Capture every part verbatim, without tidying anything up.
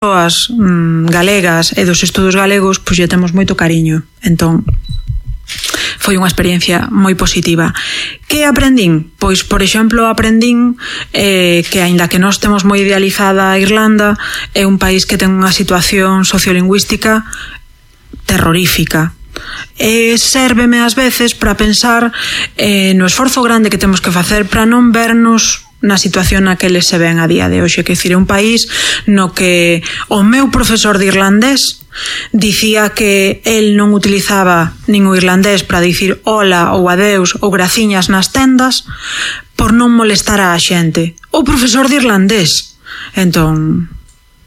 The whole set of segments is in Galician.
persoas mm, galegas e dos estudos galegos, pois lle temos moito cariño. Entón, foi unha experiencia moi positiva. Que aprendín? Pois, por exemplo, aprendín eh, que, aínda que nós temos moi idealizada a Irlanda, é un país que ten unha situación sociolingüística terrorífica. E sérveme ás veces para pensar eh, no esforzo grande que temos que facer para non vernos na situación na que eles se ven a día de hoxe, que decir, é un país no que o meu profesor de irlandés dicía que el non utilizaba nin o irlandés para dicir hola ou adeus ou graciñas nas tendas por non molestar a xente. O profesor de irlandés. Entón,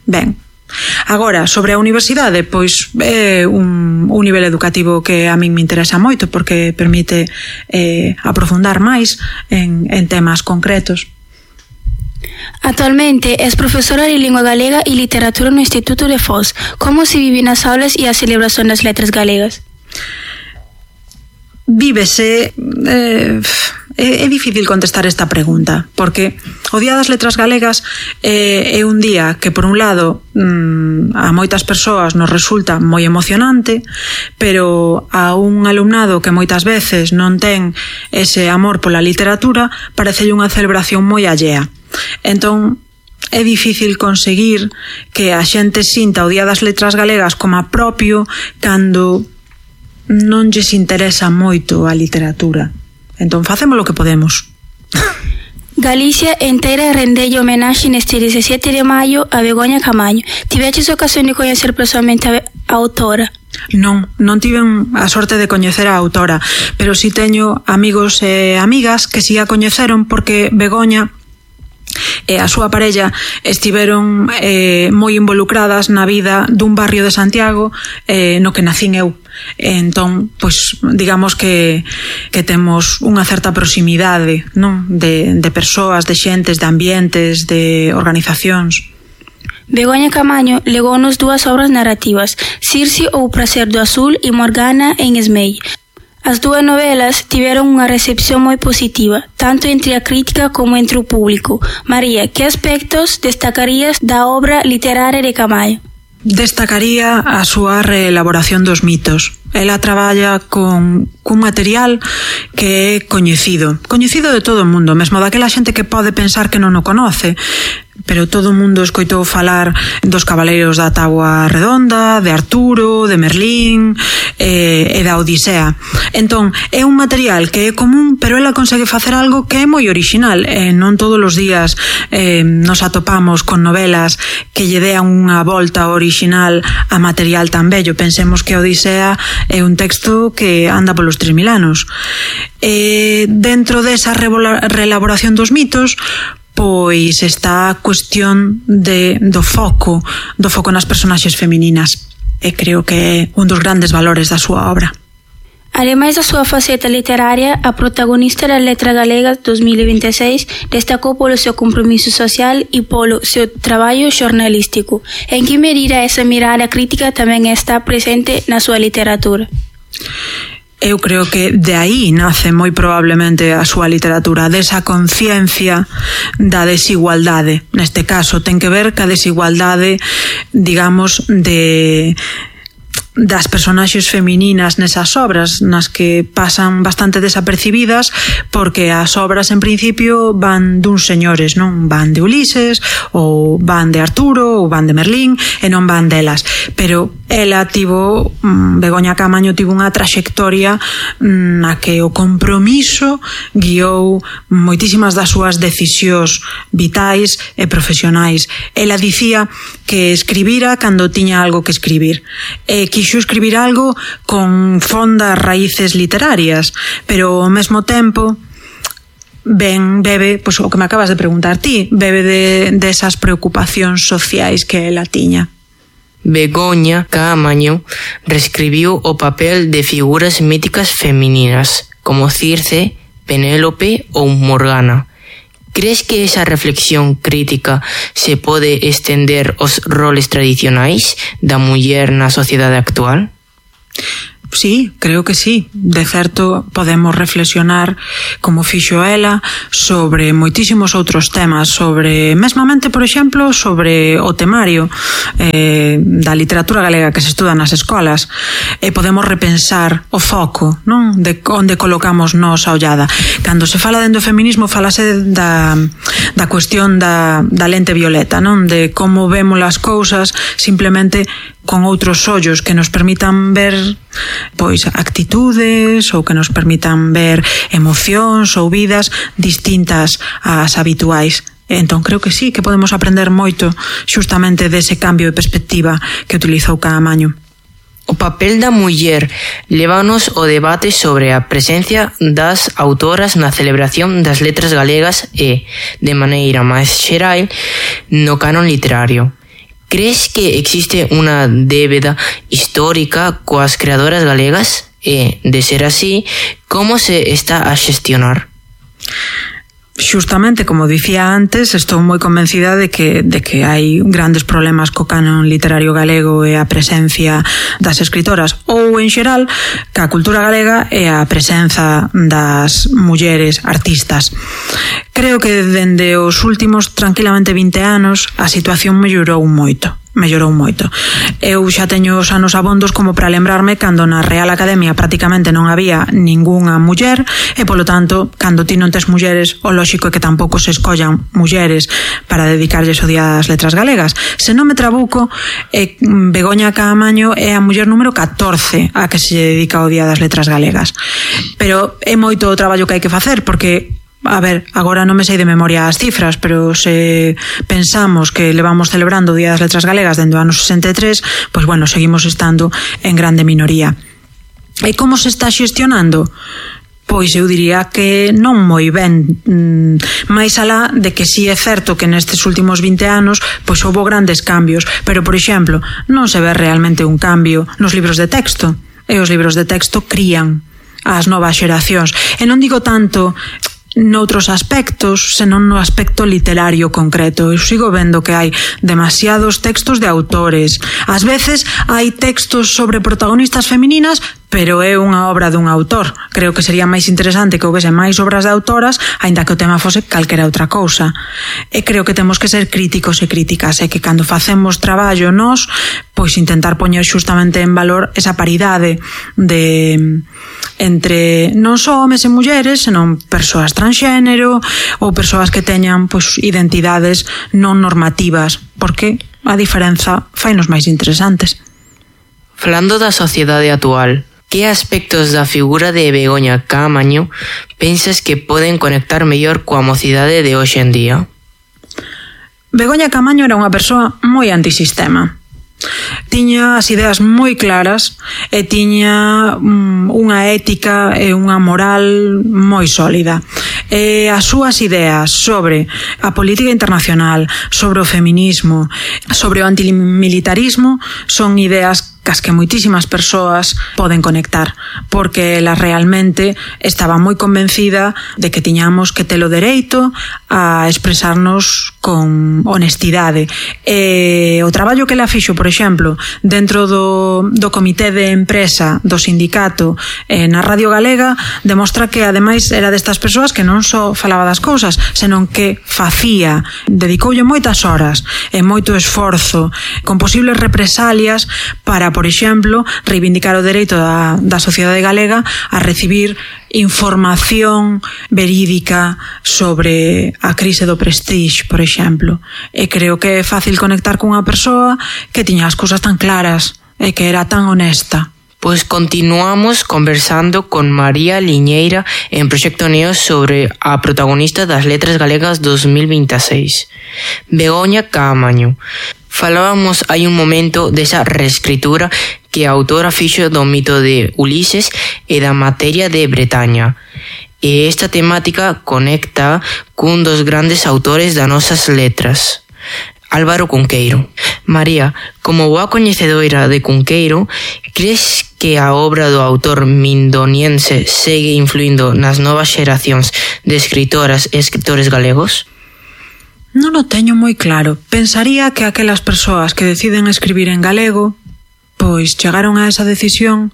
ben. Agora, sobre a universidade, pois é un, un nivel educativo que a min me interesa moito porque permite eh, aprofundar máis en, en temas concretos. Actualmente es profesora de Lingua Galega y Literatura no Instituto de Foz. ¿Cómo se viven as aulas e a celebración das letras galegas? Vívese... Eh, é, é difícil contestar esta pregunta, porque o Día das Letras Galegas é, é un día que, por un lado, mmm, a moitas persoas nos resulta moi emocionante, pero a un alumnado que moitas veces non ten ese amor pola literatura, parecelle unha celebración moi allea. Entón, é difícil conseguir que a xente sinta o Día das Letras Galegas como a propio cando non lles interesa moito a literatura. Entón, facemos o que podemos. Galicia entera rendelle homenaxe neste dezasete de maio a Begoña Camaño. Tiveches ocasión de coñecer personalmente a autora? Non, non tiven a sorte de coñecer a autora, pero si teño amigos e amigas que si a coñeceron porque Begoña e a súa parella estiveron eh, moi involucradas na vida dun barrio de Santiago eh, no que nacín eu. Entón, pois, digamos que, que temos unha certa proximidade, non? De, de persoas, de xentes, de ambientes, de organizacións. Begoña Camaño legounos dúas obras narrativas, Circe ou Prazer do Azul e Morgana en Esmei. As dúas novelas tiveron unha recepción moi positiva, tanto entre a crítica como entre o público. María, que aspectos destacarías da obra literaria de Camaño? Destacaría a súa reelaboración dos mitos. Ela traballa con cun material que é coñecido. Coñecido de todo o mundo, mesmo daquela xente que pode pensar que non o conoce. Pero todo o mundo escoitou falar dos Cabaleiros da Táboa Redonda, de Arturo, de Merlín e, e da Odisea. Entón, é un material que é común, pero ela consegue facer algo que é moi orixinal. E non todos os días eh, nos atopamos con novelas que lle dean unha volta orixinal a material tan bello. Pensemos que a Odisea é un texto que anda polos tres mil anos. E dentro desa reelaboración dos mitos, pois está a cuestión de, do foco, do foco nas personaxes femininas. E creo que é un dos grandes valores da súa obra. Ademais da súa faceta literaria, a protagonista das Letras Galegas dos mil vinte e seis destacou polo seu compromiso social e polo seu traballo xornalístico. En que medida esa mirada crítica tamén está presente na súa literatura? Eu creo que de aí nace moi probablemente a súa literatura, desa conciencia da desigualdade. Neste caso ten que ver ca desigualdade, digamos, de das personaxes femininas nesas obras, nas que pasan bastante desapercibidas porque as obras en principio van duns señores, non? Van de Ulises ou van de Arturo ou van de Merlín e non van delas, pero ela tivo, Begoña Camaño tivo unha traxectoria na que o compromiso guiou moitísimas das súas decisións vitais e profesionais. Ela dicía que escribira cando tiña algo que escribir e quixo escribir algo con fondas raíces literarias, pero ao mesmo tempo ben bebe, pois o que me acabas de preguntar ti, bebe de, de esas preocupacións sociais que ela tiña. Begoña Camaño reescribiu o papel de figuras míticas femininas como Circe, Penélope ou Morgana. Crees que esa reflexión crítica se pode estender aos roles tradicionais da muller na sociedade actual? Sí, creo que sí. De certo, podemos reflexionar, como fixo ela, sobre moitísimos outros temas, sobre, mesmamente, por exemplo, sobre o temario eh, da literatura galega que se estuda nas escolas, e podemos repensar o foco, non? De onde colocamos nós a ollada. Cando se fala dentro do feminismo, falase da, da cuestión da, da lente violeta, non? De como vemos as cousas simplemente con outros ollos que nos permitan ver pois actitudes ou que nos permitan ver emocións ou vidas distintas ás habituais. Entón creo que sí, que podemos aprender moito xustamente dese cambio de perspectiva que utilizou Caamaño. O papel da muller lévanos ao debate sobre a presencia das autoras na celebración das letras galegas e, de maneira máis xeral, no canon literario. Crees que existe unha débeda histórica coas creadoras galegas? E, de ser así, como se está a xestionar? Xustamente, como dicía antes, estou moi convencida de que, de que hai grandes problemas co canon literario galego e a presencia das escritoras, ou, en xeral, que a cultura galega e a presenza das mulleres artistas. Creo que dende os últimos tranquilamente vinte anos a situación mellorou moito. mellorou moito. Eu xa teño os anos abondos como para lembrarme cando na Real Academia prácticamente non había ningunha muller e, polo tanto, cando ti non tes mulleres, o lóxico é que tampouco se escollan mulleres para dedicarlles o Día das Letras Galegas. Se non me trabuco, eh, Begoña Caamaño é a muller número catorce a que se dedica o Día das Letras Galegas. Pero é moito o traballo que hai que facer, porque a ver, agora non me sei de memoria as cifras, pero se pensamos que levamos celebrando o Día das Letras Galegas dende o ano sesenta e tres, pois bueno, seguimos estando en grande minoría. E como se está xestionando? Pois eu diría que non moi ben, máis alá de que sí é certo que nestes últimos vinte anos pois houbo grandes cambios, pero, por exemplo, non se ve realmente un cambio nos libros de texto, e os libros de texto crían as novas xeracións. E non digo tanto noutros aspectos, senón no aspecto literario concreto. Eu sigo vendo que hai demasiados textos de autores. Ás veces hai textos sobre protagonistas femininas, pero é unha obra dun autor. Creo que sería máis interesante que houvese máis obras de autoras, aínda que o tema fose calquera outra cousa. E creo que temos que ser críticos e críticas, e que cando facemos traballo nós, pois intentar poñer xustamente en valor esa paridade de entre non só homes e mulleres, senón persoas transxénero ou persoas que teñan pois identidades non normativas, porque a diferenza fainos máis interesantes. Falando da sociedade actual, que aspectos da figura de Begoña Caamaño pensas que poden conectar mellor coa mocidade de hoxe en día? Begoña Caamaño era unha persoa moi antisistema. Tiña as ideas moi claras e tiña um, unha ética e unha moral moi sólida. E as súas ideas sobre a política internacional, sobre o feminismo, sobre o antimilitarismo son ideas cas que moitísimas persoas poden conectar, porque ela realmente estaba moi convencida de que tiñamos que ter o dereito a expresarnos con honestidade. E o traballo que ela fixo, por exemplo, dentro do, do comité de empresa do sindicato eh, na Radio Galega, demostra que ademais era destas persoas que non só falaba das cousas, senón que facía, dedicoulle moitas horas e moito esforzo con posibles represalias para, por exemplo, reivindicar o dereito da, da sociedade galega a recibir información verídica sobre a crise do Prestige, por exemplo. E creo que é fácil conectar con unha persoa que tiña as cousas tan claras e que era tan honesta. Pois continuamos conversando con María Liñeira en Proxecto Neos sobre a protagonista das Letras Galegas dos mil veintiséis, Begoña Caamaño. Falábamos hai un momento desa reescritura que a autora fixo do mito de Ulises e da materia de Bretaña. E esta temática conecta cun dos grandes autores das nosas letras, Álvaro Cunqueiro. María, como boa coñecedora de Cunqueiro, crees que a obra do autor mindoniense segue influindo nas novas xeracións de escritoras e escritores galegos? Non o teño moi claro. Pensaría que aquelas persoas que deciden escribir en galego, pois chegaron a esa decisión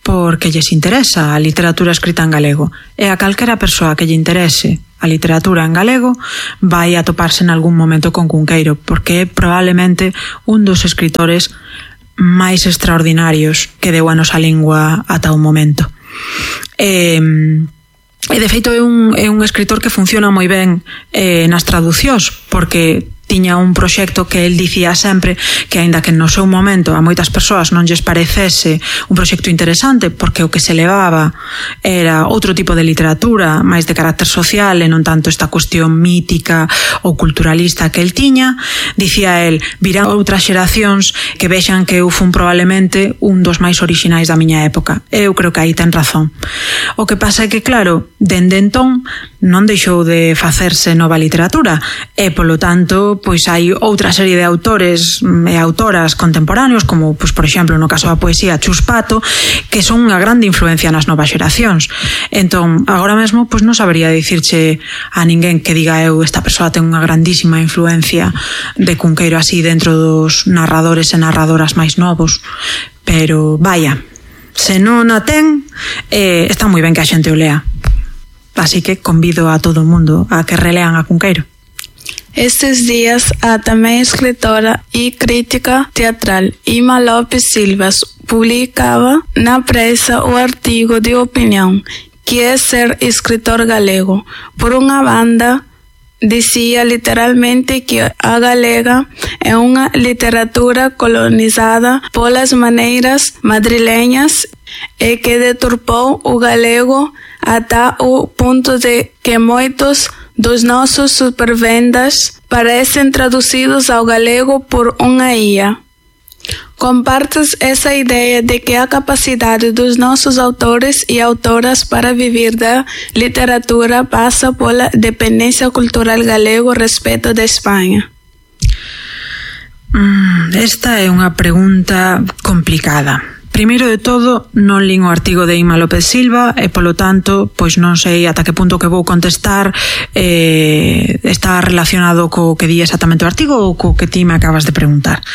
porque lles interesa a literatura escrita en galego. E a calquera persoa que lle interese a literatura en galego vai a toparse en algún momento con Cunqueiro, porque é probablemente un dos escritores máis extraordinarios que deu a nosa lingua ata o momento. E, e de feito é un, é un escritor que funciona moi ben eh, nas traducións, porque tiña un proxecto que el dicía sempre que, aínda que no seu momento a moitas persoas non lles parecese un proxecto interesante, porque o que se levaba era outro tipo de literatura máis de carácter social e non tanto esta cuestión mítica ou culturalista que el tiña, dicía el, virán outras xeracións que vexan que eu fun probablemente un dos máis orixinais da miña época. Eu creo que aí ten razón. O que pasa é que, claro, dende entón non deixou de facerse nova literatura e, polo tanto, pois hai outra serie de autores e autoras contemporáneos, como, pois, por exemplo, no caso da poesía, Chus Pato, que son unha grande influencia nas novas xeracións. Entón, agora mesmo, pois non sabería dicirche a ninguén que diga eu, esta persoa ten unha grandísima influencia de Cunqueiro así dentro dos narradores e narradoras máis novos. Pero, vaya, se non a ten, eh, está moi ben que a xente o lea. Así que convido a todo o mundo a que relean a Cunqueiro. Estes días, a tamén escritora e crítica teatral Ima Lopes Silvas publicaba na prensa o artigo de opinión que é ser escritor galego. Por unha banda, dicía literalmente que a galega é unha literatura colonizada polas maneiras madrileñas e que deturpou o galego ata o punto de que moitos dos nosos supervendas parecen traducidos ao galego por unha I A. Compartes essa ideia de que a capacidade dos nossos autores e autoras para viver da literatura passa pola dependência cultural galego respecto da Espanha? Esta é unha pregunta complicada. Primeiro de todo, non lín o artigo de Ima López Silva e, polo tanto, pois non sei ata que punto que vou contestar eh, está relacionado co que di exactamente o artigo ou co que ti me acabas de preguntar.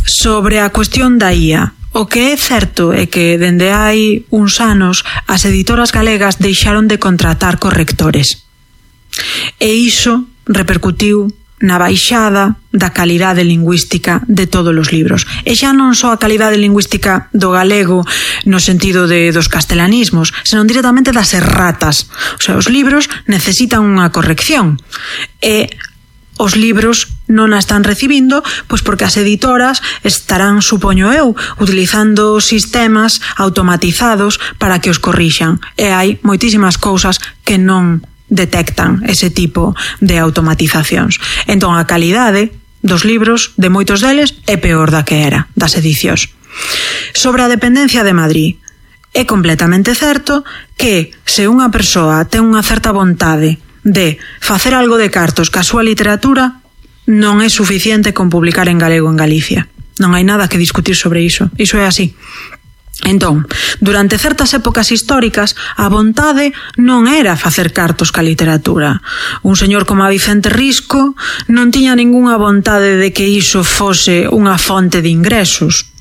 Sobre a cuestión da I A, o que é certo é que dende hai uns anos as editoras galegas deixaron de contratar correctores. E iso repercutiu na baixada da calidade lingüística de todos os libros. E xa non só a calidade lingüística do galego no sentido de dos castelanismos, senón directamente das erratas. O sea, os libros necesitan unha corrección. E os libros non a están recibindo, pois porque as editoras estarán, supoño eu, utilizando sistemas automatizados para que os corrixan. E hai moitísimas cousas que non detectan ese tipo de automatizacións. Entón, a calidade dos libros, de moitos deles, é peor da que era, das edicións. Sobre a dependencia de Madrid, é completamente certo que se unha persoa ten unha certa vontade de facer algo de cartos ca súa literatura, non é suficiente con publicar en galego en Galicia. Non hai nada que discutir sobre iso. Iso é así. Entón, durante certas épocas históricas, a vontade non era facer cartos ca literatura. Un señor como a Vicente Risco non tiña ningunha vontade de que iso fose unha fonte de ingresos.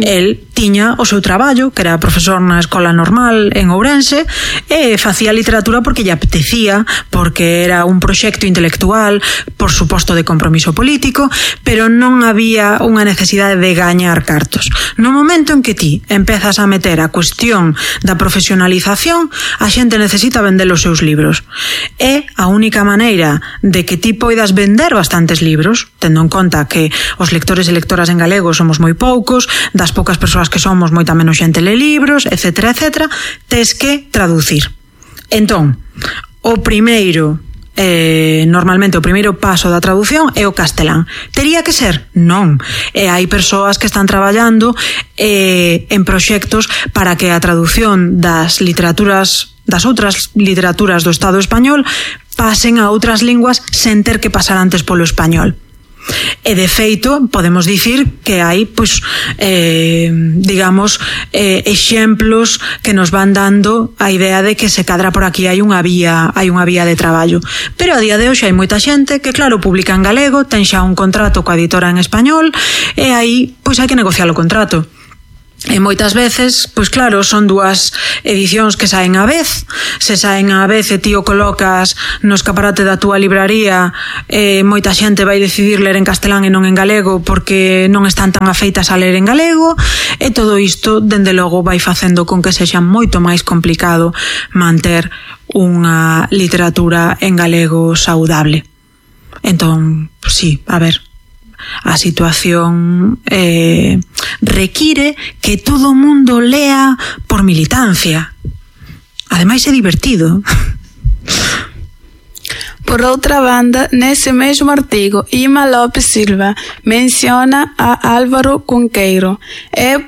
El tiña o seu traballo, que era profesor na escola normal en Ourense, e facía literatura porque lle apetecía, porque era un proxecto intelectual, por suposto de compromiso político, pero non había unha necesidade de gañar cartos. No momento en que ti empezas a meter a cuestión da profesionalización, a xente necesita vender os seus libros. É a única maneira de que ti poidas vender bastantes libros, tendo en conta que os lectores e lectoras en galego somos moi poucos, das poucas persoas que somos moita menos xente le libros, etcétera, etcétera, tes que traducir. Entón, o primeiro, eh, normalmente o primeiro paso da traducción é o castelán. Tería que ser? Non. E hai persoas que están traballando eh, en proxectos para que a traducción das literaturas, das outras literaturas do Estado español pasen a outras linguas sen ter que pasar antes polo español. E de feito podemos dicir que hai pois, eh, digamos eh, exemplos que nos van dando a idea de que se cadra por aquí hai unha vía hai unha vía de traballo, pero a día de hoxe hai moita xente que claro publica en galego, ten xa un contrato coa editora en español e aí pois hai que negociar o contrato. E moitas veces, pois claro, son dúas edicións que saen á vez. Se saen á vez e ti o colocas no escaparate da túa libraría, e moita xente vai decidir ler en castelán e non en galego porque non están tan afeitas a ler en galego, e todo isto, dende logo, vai facendo con que sexa moito máis complicado manter unha literatura en galego saudable. Entón, sí, a ver, a situación eh, require que todo o mundo lea por militancia. Ademais é divertido. Por outra banda, nesse mesmo artigo, Ima Lopes Silva menciona a Álvaro Cunqueiro e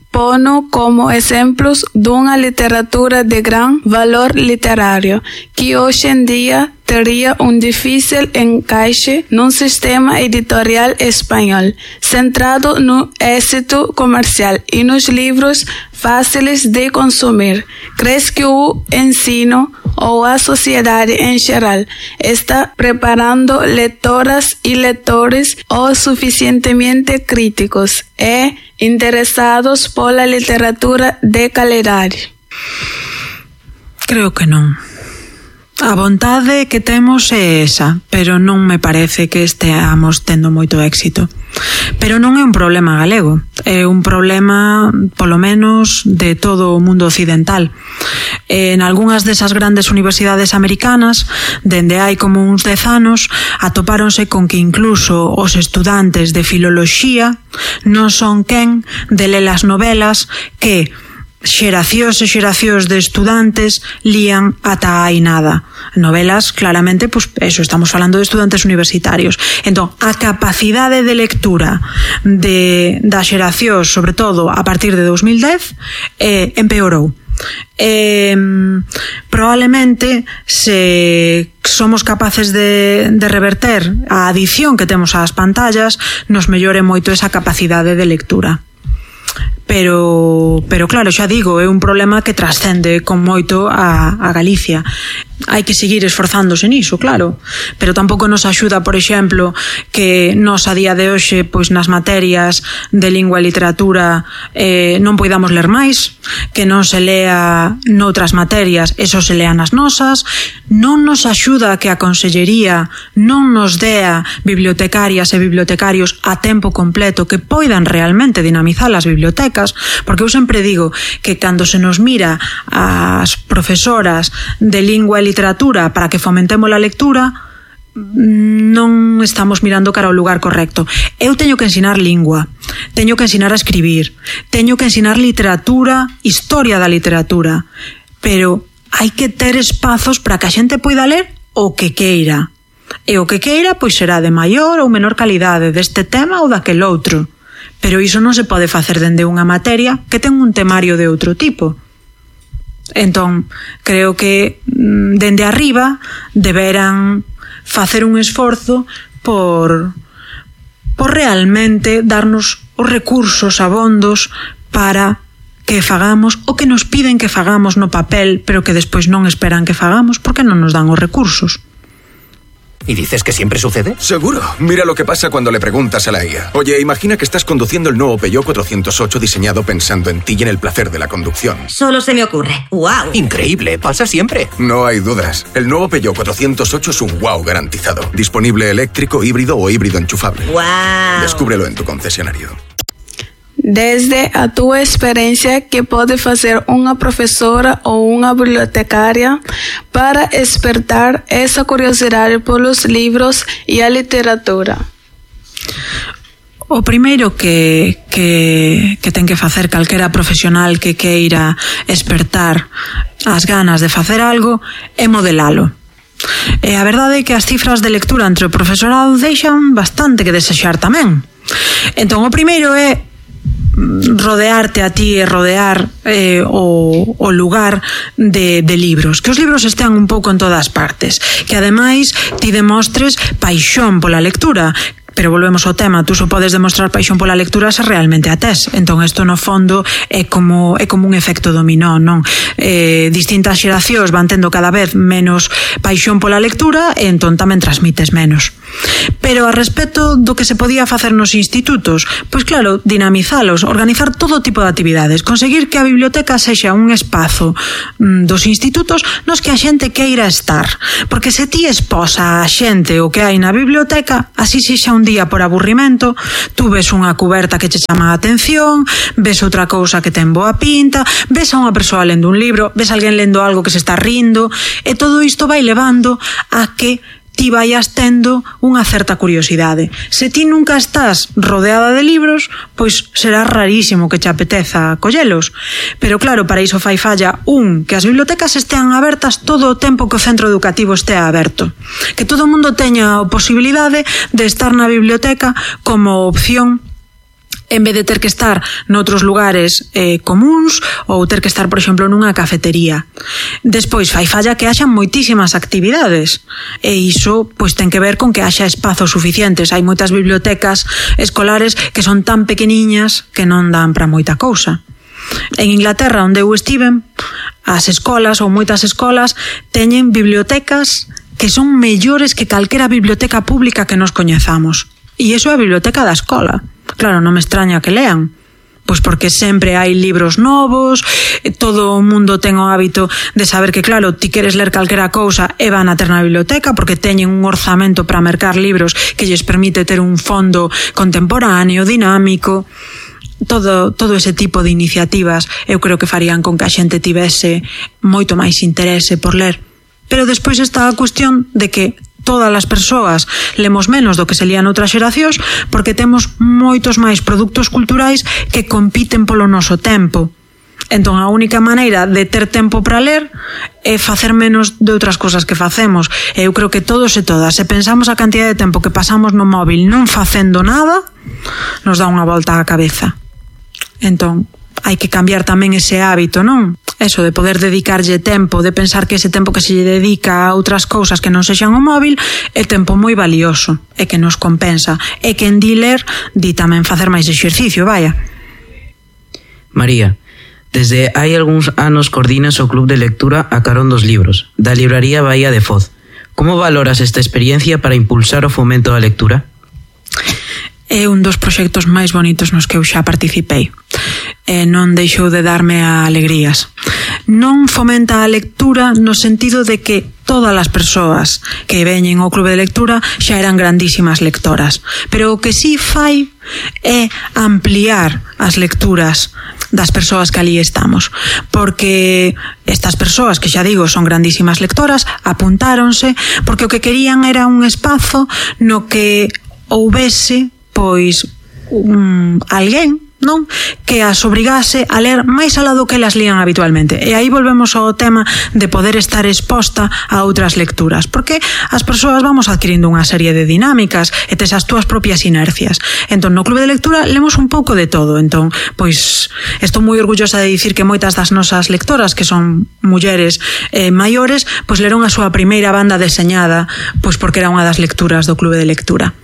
pono como exemplos dunha literatura de gran valor literario que hoxe en día teria un difícil encaixe nun sistema editorial español centrado no éxito comercial e nos livros fáciles de consumir. Crees que o ensino ou a sociedade en xeral está preparando lectoras e lectores o suficientemente críticos e interesados pola literatura de calidade? Creo que non. A vontade que temos é esa, pero non me parece que esteamos tendo moito éxito. Pero non é un problema galego, é un problema, polo menos, de todo o mundo occidental. En algunhas desas grandes universidades americanas, dende hai como uns dez anos, atopáronse con que incluso os estudantes de filoloxía non son quen de ler as novelas que xeracións e xeracións de estudantes lían ata hai nada. Novelas, claramente, pues eso, estamos falando de estudantes universitarios. Entón, a capacidade de lectura de, das xeracións, sobre todo a partir de dos mil dez, eh, empeorou. Eh, probablemente se somos capaces de, de reverter a adición que temos ás pantallas, nos mellore moito esa capacidade de lectura. Pero, pero claro, xa digo, é un problema que trascende con moito a, a Galicia. Hai que seguir esforzándose niso, claro, pero tampouco nos axuda, por exemplo, que nos a día de hoxe, pois nas materias de lingua e literatura eh, non poidamos ler máis, que non se lea noutras materias, eso se lea nas nosas. Non nos axuda que a Consellería non nos dea bibliotecarias e bibliotecarios a tempo completo que poidan realmente dinamizar as bibliotecas, porque eu sempre digo que cando se nos mira as profesoras de lingua e literatura para que fomentemos a lectura, non estamos mirando cara ao lugar correcto. Eu teño que ensinar lingua, teño que ensinar a escribir, teño que ensinar literatura, historia da literatura, pero hai que ter espazos para que a xente poida ler o que queira. E o que queira pois será de maior ou menor calidade deste tema ou daquel outro. Pero iso non se pode facer dende unha materia que ten un temario de outro tipo. Entón, creo que dende arriba deberán facer un esforzo por, por realmente darnos os recursos abondos para que fagamos o que nos piden que fagamos no papel, pero que despois non esperan que fagamos porque non nos dan os recursos. ¿Y dices que siempre sucede? Seguro. Mira lo que pasa cuando le preguntas a la I A. Oye, imagina que estás conduciendo el nuevo Peugeot cuatrocientos ocho diseñado pensando en ti y en el placer de la conducción. Solo se me ocurre. ¡Wow! Increíble, pasa siempre. No hay dudas. El nuevo Peugeot cuatrocientos ocho es un wow garantizado. Disponible eléctrico, híbrido o híbrido enchufable. ¡Wow! Descúbrelo en tu concesionario. Desde a tua experiencia, que pode fazer unha profesora ou unha bibliotecaria para despertar essa curiosidade polos livros e a literatura? O primeiro que, que, que ten que facer calquera profesional que queira despertar as ganas de facer algo é modelalo. E a verdade é que as cifras de lectura entre o profesorado deixan bastante que desexar tamén. Entón, o primeiro é rodearte a ti e rodear eh, o, o lugar de, de libros, que os libros estean un pouco en todas partes, que ademais ti demostres paixón pola lectura, Pero volvemos ao tema, tú só podes demostrar paixón pola lectura se realmente a tes. Entón, isto no fondo é como, é como un efecto dominó, non? Eh, distintas xeracións van tendo cada vez menos paixón pola lectura e entón tamén transmites menos. Pero a respecto do que se podía facer nos institutos, pois claro, dinamizalos, organizar todo tipo de actividades, conseguir que a biblioteca sexa un espazo mm, dos institutos nos que a xente queira estar. Porque se ti esposa a xente o que hai na biblioteca, así sexa un día por aburrimento, tú ves unha cuberta que che chama a atención, ves outra cousa que ten boa pinta, ves a unha persoa lendo un libro, ves a alguén lendo algo que se está rindo, e todo isto vai levando a que ti vayas tendo unha certa curiosidade. Se ti nunca estás rodeada de libros, pois será rarísimo que che apeteza collelos. Pero claro, para iso fai falla un, que as bibliotecas estean abertas todo o tempo que o centro educativo estea aberto. Que todo o mundo teña a posibilidade de estar na biblioteca como opción en vez de ter que estar noutros lugares eh, comuns ou ter que estar, por exemplo, nunha cafetería. Despois, fai falla que haxan moitísimas actividades e iso pois ten que ver con que haxa espazos suficientes. Hai moitas bibliotecas escolares que son tan pequeniñas que non dan para moita cousa. En Inglaterra, onde eu estiven, as escolas ou moitas escolas teñen bibliotecas que son mellores que calquera biblioteca pública que nos coñezamos. E iso é a biblioteca da escola. Claro, non me extraña que lean. Pois porque sempre hai libros novos, todo o mundo ten o hábito de saber que, claro, ti queres ler calquera cousa e van a ter na biblioteca porque teñen un orzamento para mercar libros que lles permite ter un fondo contemporáneo, dinámico. Todo, todo ese tipo de iniciativas eu creo que farían con que a xente tivese moito máis interese por ler. Pero despois está a cuestión de que todas as persoas lemos menos do que se lía noutras xeracións porque temos moitos máis produtos culturais que compiten polo noso tempo. Entón, a única maneira de ter tempo para ler é facer menos de outras cosas que facemos. E eu creo que todos e todas, se pensamos a cantidad de tempo que pasamos no móvil non facendo nada, nos dá unha volta á cabeza. Entón, hai que cambiar tamén ese hábito, non? Eso de poder dedicarlle tempo, de pensar que ese tempo que se lle dedica a outras cousas que non sexan o móvil é tempo moi valioso e que nos compensa. E que en di ler, di tamén facer máis exercicio, vaya. María, desde hai algúns anos coordinas o Club de Lectura a carón dos libros, da libraría Bahía de Foz. Como valoras esta experiencia para impulsar o fomento da lectura? É un dos proxectos máis bonitos nos que eu xa participei. E non deixou de darme alegrías. Non fomenta a lectura no sentido de que todas as persoas que veñen ao Club de Lectura xa eran grandísimas lectoras. Pero o que sí fai é ampliar as lecturas das persoas que ali estamos. Porque estas persoas, que xa digo, son grandísimas lectoras, apuntáronse porque o que querían era un espazo no que houbese pois un, alguén, non? Que as obrigase a ler máis alá do que elas lían habitualmente. E aí volvemos ao tema de poder estar exposta a outras lecturas, porque as persoas vamos adquirindo unha serie de dinámicas e tes as túas propias inercias. Entón, no Club de Lectura lemos un pouco de todo. Entón, pois, estou moi orgullosa de dicir que moitas das nosas lectoras, que son mulleres eh, maiores, pois leron a súa primeira banda deseñada, pois porque era unha das lecturas do Club de Lectura.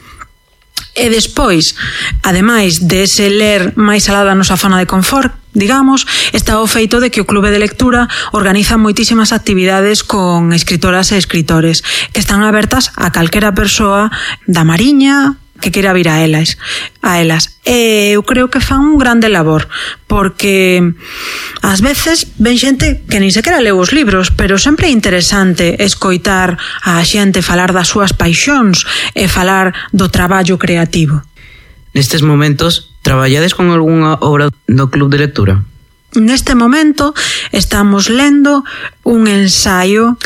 E despois, ademais de ese ler máis alá da nosa zona de confort, digamos, está o feito de que o Clube de Lectura organiza moitísimas actividades con escritoras e escritores que están abertas a calquera persoa da Mariña que queira vir a elas, a elas. E eu creo que fan un grande labor, porque ás veces ven xente que nin sequera leu os libros, pero sempre é interesante escoitar a xente falar das súas paixóns e falar do traballo creativo. Nestes momentos, traballades con algunha obra no Club de Lectura? Neste momento estamos lendo un ensaio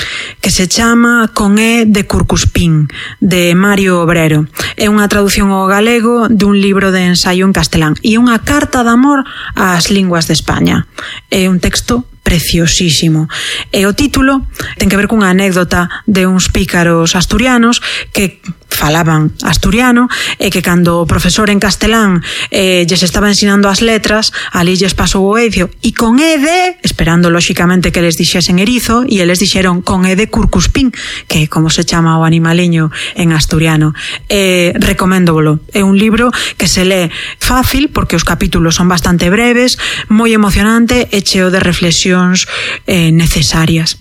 que se chama Con E de Curcuspín, de Mario Obrero. É unha traducción ao galego dun libro de ensaio en castelán e unha carta de amor ás linguas de España. É un texto preciosísimo. E o título ten que ver cunha anécdota de uns pícaros asturianos que falaban asturiano e que cando o profesor en castelán eh, lles estaba ensinando as letras, ali lles pasou o edio e con E de, esperando lóxicamente que les dixesen erizo, e eles dixeron con E de curcuspín, que é como se chama o animaliño en asturiano. Eh, recoméndovolo. É un libro que se lee fácil porque os capítulos son bastante breves, moi emocionante e cheo de reflexións eh, necesarias.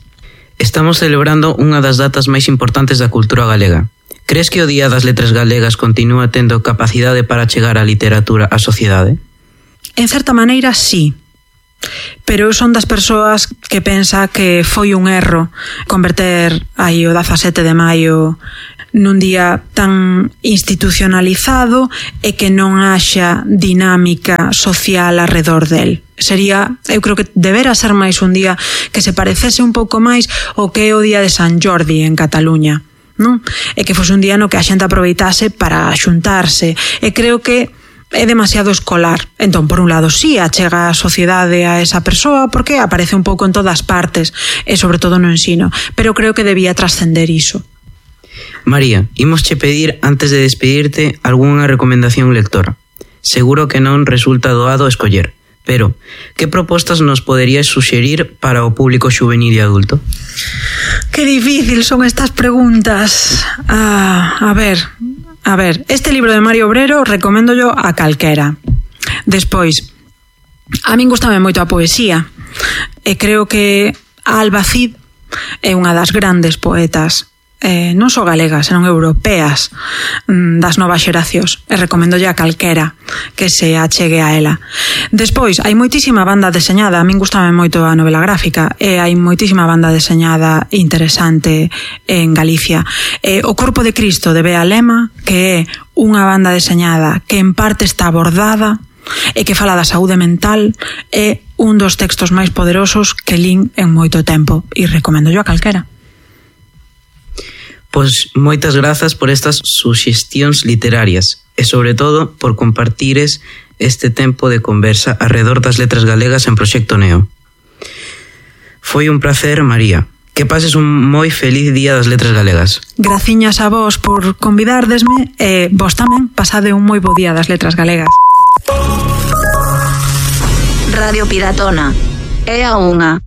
Estamos celebrando unha das datas máis importantes da cultura galega. Crees que o Día das Letras Galegas continúa tendo capacidade para chegar a literatura á sociedade? En certa maneira, sí. Pero eu son das persoas que pensa que foi un erro converter aí o dezasete de maio nun día tan institucionalizado e que non haxa dinámica social alrededor del. Sería, eu creo que debera ser máis un día que se parecese un pouco máis ao que é o día de San Jordi en Cataluña, non? E que fose un día no que a xente aproveitase para xuntarse. E creo que é demasiado escolar. Entón, por un lado, sí, achega a sociedade a esa persoa porque aparece un pouco en todas partes e sobre todo no ensino, pero creo que debía trascender iso. María, imosche pedir antes de despedirte algunha recomendación lectora. Seguro que non resulta doado escoller, pero que propostas nos poderías suxerir para o público xuvenil e adulto? Que difícil son estas preguntas. Ah, a ver, a ver, este libro de Mario Obrero recoméndollo a calquera. Despois, a min gustame moito a poesía e creo que Alba Cid é unha das grandes poetas, eh, non só galegas, senón europeas, das novas xeracións, e recoméndolle a calquera que se achegue a ela. Despois, hai moitísima banda deseñada, a min gustame moito a novela gráfica, e hai moitísima banda deseñada interesante en Galicia. E O Corpo de Cristo de Bea Lema, que é unha banda deseñada que en parte está abordada e que fala da saúde mental, é un dos textos máis poderosos que lín en moito tempo, e recoméndollo a calquera. Pois moitas grazas por estas suxestións literarias e sobre todo por compartires este tempo de conversa alrededor das letras galegas en Proxecto Neo. Foi un placer, María. Que pases un moi feliz Día das Letras Galegas. Graciñas a vos por convidardesme e vos tamén pasade un moi bo Día das Letras Galegas. Radio Piratona. É a unha.